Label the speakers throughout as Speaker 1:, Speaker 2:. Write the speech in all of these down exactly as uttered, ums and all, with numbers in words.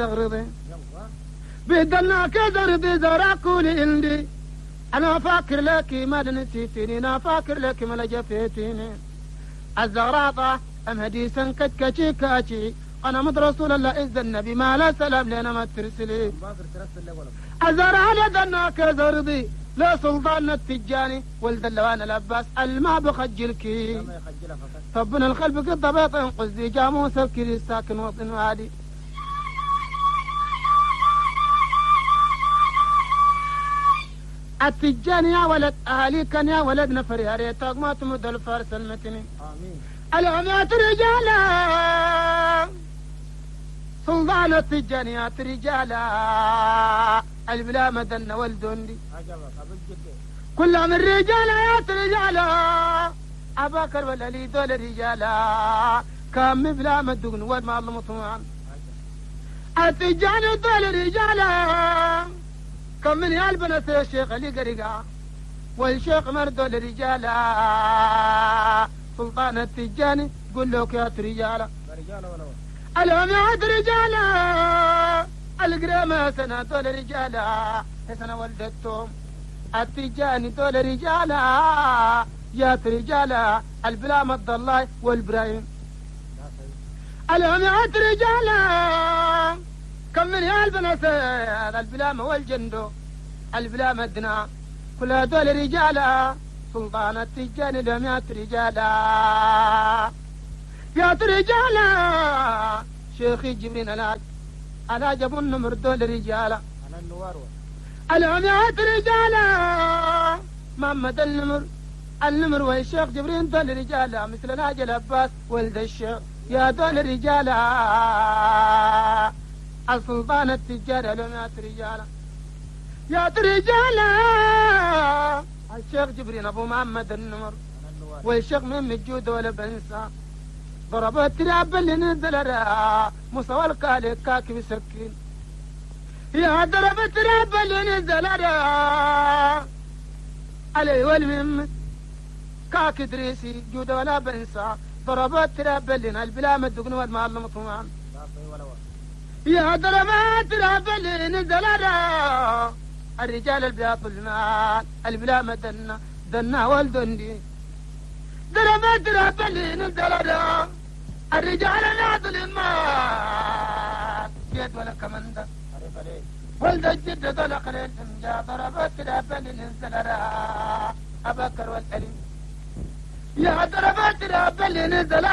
Speaker 1: زغرضي بدلنا كزرضي زراكولي عندي أنا فاكر لك ما نسيتني أنا فاكر لك ما لجفيتني الزغراطة أم هديسا كتكتي كاتي أنا مد رسول الله إذ النبي ما لا سلام لنا ما ترسلي الزرع لدنا كزرضي لا سلطان التجاني ولد اللوان العباس الما بخجلك طبنا الخلف قد بيط قصدي جاموس الكري ساكن وطن وادي التجاني يا ولد أهلي كان يا ولد نفر يا ريتك ما تمد الفارس المتني
Speaker 2: آمين
Speaker 1: العميات رجالا سلطان التجانيات رجالا البلا مدن والدندي كل من رجالا يا رجالا أباكر ولا لي دول رجالا كم بلا مدقن والما الله مطمعن التجاني دول رجالا كم من يالبنس يا الشيخ اللي قرقا والشيخ مردو لرجالا سلطان التجاني قل لك يا رجالا العماد رجالا القرامة سنة دول رجالا سنة ولدتهم التجاني دول رجالا يا رجالا البلا مد الله والبرايم العماد رجالا كم من يالبنس البلامة والجندو البلامة دنا كل هذول رجالا سلطان التجاني لم رجالا يا رجالا شيخي جبرين العج على جب النمر دول رجالا العميات رجالا محمد النمر النمر والشيخ جبرين دول رجالا مثل الهاج العباس ولد الشيخ يا دول رجالا السلطان التجار لم رجالا يا رجالا الشيخ جبرين ابو محمد النمر والشيخ من الجود ولا بنسى ضرب التراب اللي نزل موسى والقالي كاكب سكين يا ضرب التراب اللي نزل علي والمم كاك دريسي جود ولا بنسى ضرب التراب اللي البلا مدقن والمعلم طمان يا ضرب التراب اللي نزل الرجال البياض المال البلا مدنا دنا والدندي ضرب التراب اللي نزل الرجال البياض المال جد ولا كمندا ولد الجد طلق للإنجا ضرب التراب اللي نزل أبكر والأليم يا ضرب التراب اللي نزل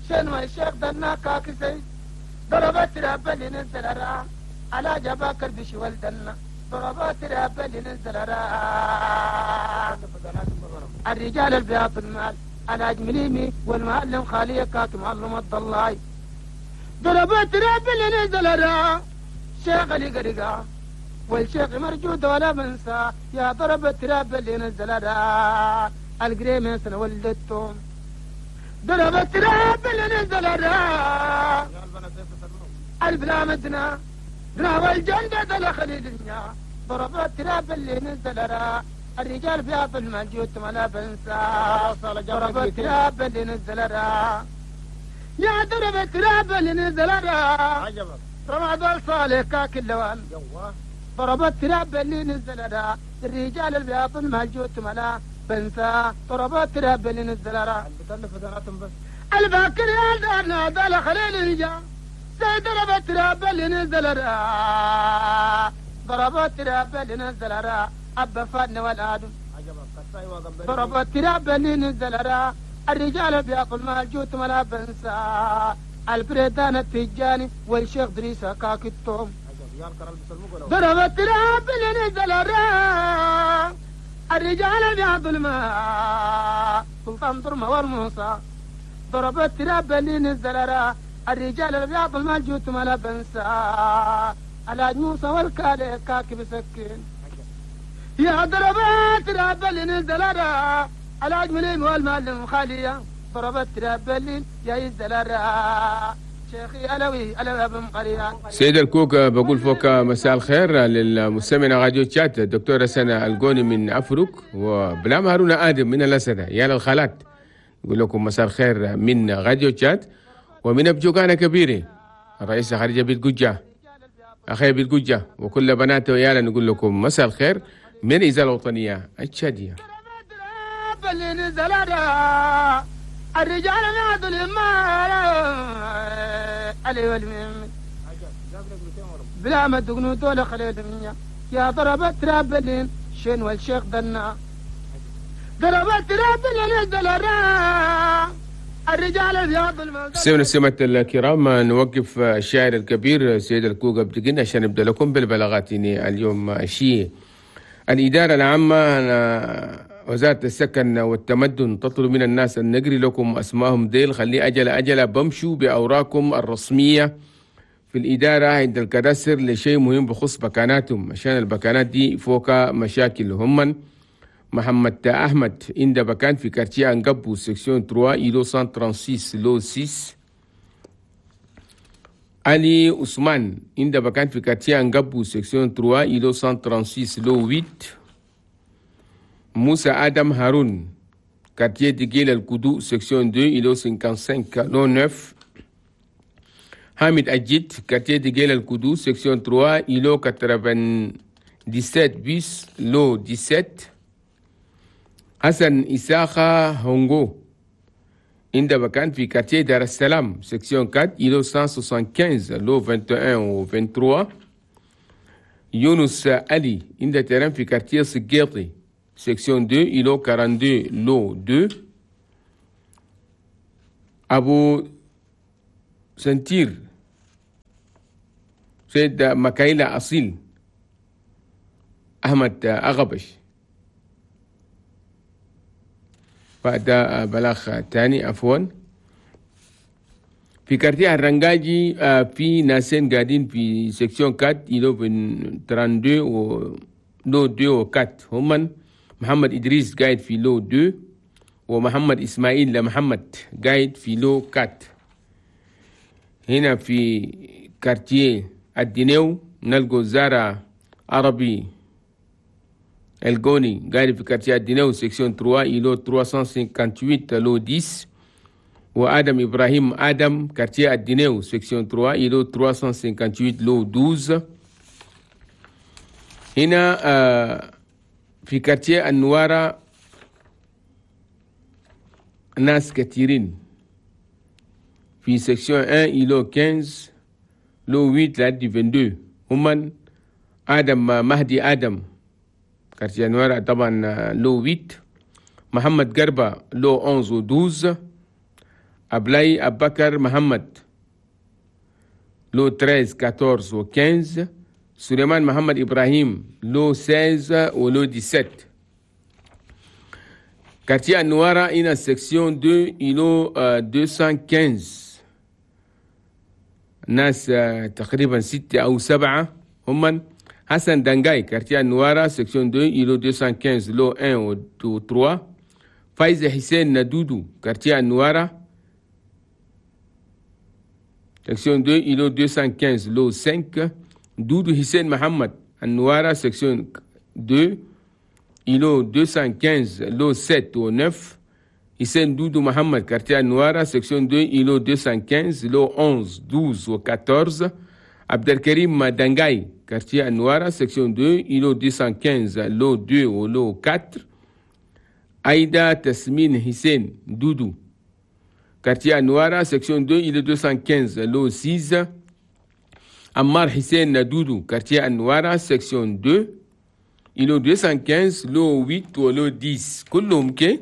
Speaker 1: شنو الشيخ دنا كاكسي ضرب التراب اللي نزل على جباكر بشي ولدنا ضرب التراب اللي نزل الرجال البياض المال على جمليمي والمعلم خالية كاك معلم الضلاي ضرب التراب اللي نزل شيخ اللي قرقا والشيخ مرجود ولا بنسى يا ضرب التراب اللي نزل القريمة سنة ولدتهم ضرب التراب اللي نزل البلا مدنا دنا والجندة دخل الدنيا ضرب التراب اللي نزل الرجال بياض المال ولا بنسى ضرب التراب اللي نزل يا ضرب التراب اللي نزل رمضان صالح كاك اللوان ضرب التراب اللي نزل الرجال البياض المال ولا بنسى ضرب التراب اللي نزل الباكر يا دارنا دال خليل الجا ضرب التراب اللي نزل ضرب التراب اللي نزل أبا فادنا والآدم ضرب التراب اللي نزل الرجال بياكل مال جوت ولا بنسى البريدان التجاني والشيخ دريسة كاكتهم ضرب التراب اللي نزل الرجال بياكل مال سلطان ضرمة والموسى ضرب التراب اللي نزل الرجال البياض المال جوت ولا بنسى على موسى والكالي كاكب سكين يا ضربات تراب اللي نزل على أجملين والمعلم خالية ضربت تراب اللي يا ينزل شيخي ألوي ألوي أبو مقرية.
Speaker 3: سيد الكوك بقول فوق مساء الخير للمستمعين راديو تشات الدكتورة سنة الجوني من أفريق وبلام هارون آدم من الأسدة يا للخالات نقول لكم مساء الخير من راديو تشات ومن أبجوكانا كبيري الرئيسة خديجة بيت قجة أخي بيت قجة وكل بناته ويانا نقول لكم مساء الخير من الإذاعة الوطنية التشادية.
Speaker 1: الرجال بلا ما تقنوا دولة خليل يا ضربت رابلين شين والشيخ دنا ضربت رابلين دلرا الرجال بياض.
Speaker 3: سيدنا سمة الكرام، نوقف الشاعر الكبير سيد الكوكب بدقن عشان نبدا لكم بالبلاغات اليوم. شيء الإدارة العامة وزارة السكن والتمدن تطلب من الناس أن نقري لكم أسمائهم ديل، خلي أجل أجل بمشوا بأوراقكم الرسمية في الإدارة عند الكداسر لشيء مهم بخص بكاناتهم، عشان البكانات دي فوق مشاكل. هم محمد أحمد عند بكان في quartier أنقبو section ثلاثة îlot مئة وستة وثلاثين lot ستة. علي عثمان عند بكان في quartier أنقبو section ثلاثة îlot مئة وستة وثلاثين lot ثمانية. موسى آدم هارون quartier ديجيل الكدو section اثنين îlot خمسة وخمسين lot تسعة. حامد أجيد quartier ديجيل الكدو section ثلاثة îlot سبعة وثمانين bis lot سبعة عشر. حسن إساخة هونغو عند بكان في quartier دار السلام section أربعة îlot مئة خمسة وستين lot واحد وعشرين و ثلاثة وعشرين. يونس علي عند terrain في quartier سقيطي section اثنين îlot اثنين وأربعين lot اثنين. أبو سنتير سيد مكايلة أصيل أحمد أغبش. بعد بلاغ تاني عفوا في quartier الرنجاجي في ناسين قاعدين في section أربعة îlot اثنين وثلاثين و lot اثنين و أربعة. هم محمد إدريس قاعد في lot اثنين ومحمد إسماعيل لمحمد قاعد في lot أربعة. هنا في quartier الدينيو نلقو زارة عربي الجوني قاعد في quartier الدينيو section ثلاثة îlot ثلاثمئة وثمانية وخمسين lot عشرة. وآدم إبراهيم آدم quartier الدينيو section ثلاثة îlot ثلاثمئة وثمانية وخمسين lot اثنا عشر. هنا آه في quartier النوارة ناس كثيرين في section واحد îlot خمسة عشر lot ثمانية لحد اثنين وعشرين. هم آدم مهدي آدم quartier النوارة طبعا lot ثمانية. محمد قربة lot أحد عشر و اثنا عشر. أبلاي أبكر محمد lot ثلاثة عشر أربعة عشر و خمسة عشر. سليمان محمد إبراهيم lot ستة عشر و lot سبعة عشر. quartier النوارة هنا section اثنين îlot مئتين وخمسة عشر ناس تقريبا ستة أو سبعة. هم حسن دنجاي quartier النوارة section اثنين îlot مئتين وخمسة عشر lot واحد و ثلاثة. فايزة حسين ندودو quartier النوارة section اثنين îlot مئتين وخمسة عشر lot خمسة. دودو حسين محمد النوارة section اثنين îlot مئتين وخمسة عشر lot سبعة و تسعة. حسين دودو محمد quartier النوارة section اثنين îlot مئتين وخمسة عشر lot أحد عشر اثنا عشر و أربعة عشر. عبد الكريم دنجاي quartier النوارة section اثنين îlot مئتين وخمسة عشر lot اثنين و lot أربعة. أيدا تسمين حسين دودو quartier النوارة section اثنين îlot مئتين وخمسة عشر lot ستة. عمار حسين دودو quartier النوارة section اثنين îlot مئتين وخمسة عشر lot ثمانية و lot عشرة. كلهم كي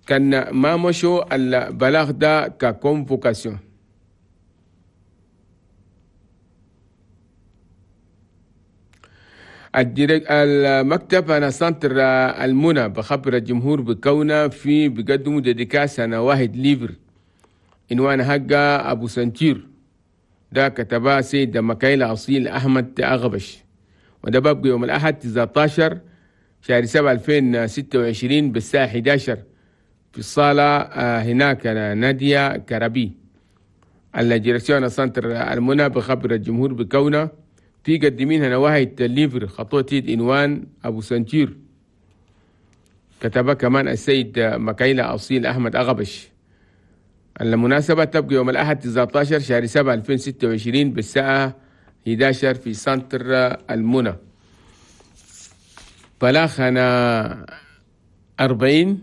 Speaker 3: كان ما مشوا البلاغ ده ك convocation. المكتب أنا centre المنى بخبر الجمهور بكونه في بقدموا dédicace أنا واحد livre عنوان حقه أبو سنتير ده كتبها سيد مكايل أصيل أحمد أغبش، وده ببقى يوم الأحد تسعة عشر شهر سبعة ألفين وستة وعشرين بالساعة إحدى عشر في الصالة هناك نادية كربي. ال direction centre المنى بخبر الجمهور بكونه في قدمين هنا واحد livre خطوة عنوان أبو سنتير كتبها كمان السيد مكايلة أصيل أحمد أغبش. المناسبة تبقى يوم الأحد تسعة عشر شهر سبعة ألفين وستة وعشرين بالساعة إحدى عشر في سنتر المنى. بلاخنا أربعين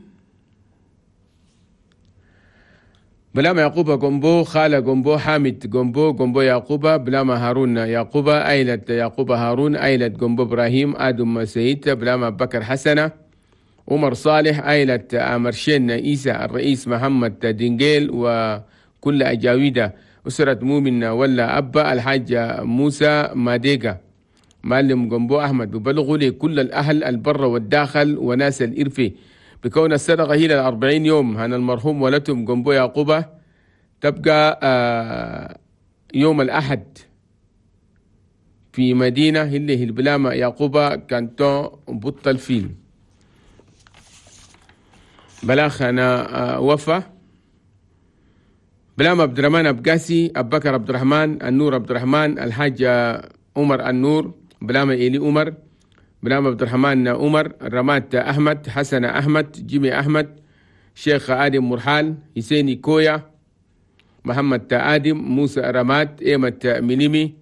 Speaker 3: بلاما يعقوب جنبو، خالة جنبو، حامد جنبو، جنبو يعقوبة، بلاما هارون يعقوبة، أيلة يعقوب هارون، أيلة جنبو إبراهيم، آدم سيد، بلاما بكر حسنة، عمر صالح، أيلة أمرشين إيسى، الرئيس محمد دينجيل وكل أجاويدة، أسرة مؤمن ولا أبا، الحاج موسى ماديجا، معلم جنبو أحمد. ببلغوا لكل الأهل البر والداخل وناس الإرفي بكون الصدقة هي للأربعين يوم هن المرحوم ولتهم جنبو يعقوبة تبقى يوم الأحد في مدينة اللي هي البلامة يعقوبة كانتون بطل فيل. بلاخ أنا وفا بلام عبد الرحمن أبقاسي، أبو بكر عبد الرحمن، النور عبد الرحمن، الحاج عمر النور، بلامة إيلي عمر، بلام عبد الرحمن عمر، رمات أحمد، حسن أحمد، جيمي أحمد، شيخ آدم مرحال، حسيني كويا، محمد آدم، موسى رمات، إيمة مليمي،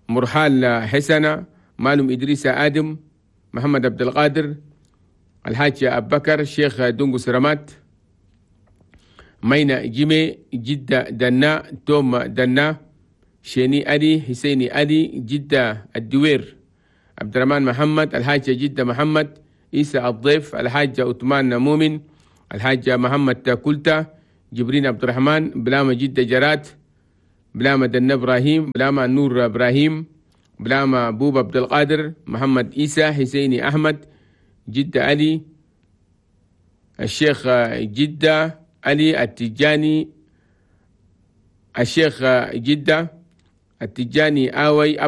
Speaker 3: مرحال حسنة، مالم إدريس آدم، محمد عبد القادر، الحاج أبو بكر، شيخ دونغوس رمات، مينا جيمي، جدة دنا، توم دنا، شيني ألي، حسيني ألي، جدة الدوير، عبد الرحمن محمد، الحاج جدة محمد، عيسى الضيف، الحاج عثمان مؤمن، الحاج محمد كلتا، جبرين عبد الرحمن، بلامة جدة جرات، بلامة دنا إبراهيم، بلامة نور إبراهيم، بلامة بوب عبد القادر، محمد عيسى، حسيني أحمد، جدة علي، الشيخ جدة علي التجاني، الشيخ جدة التجاني آوي.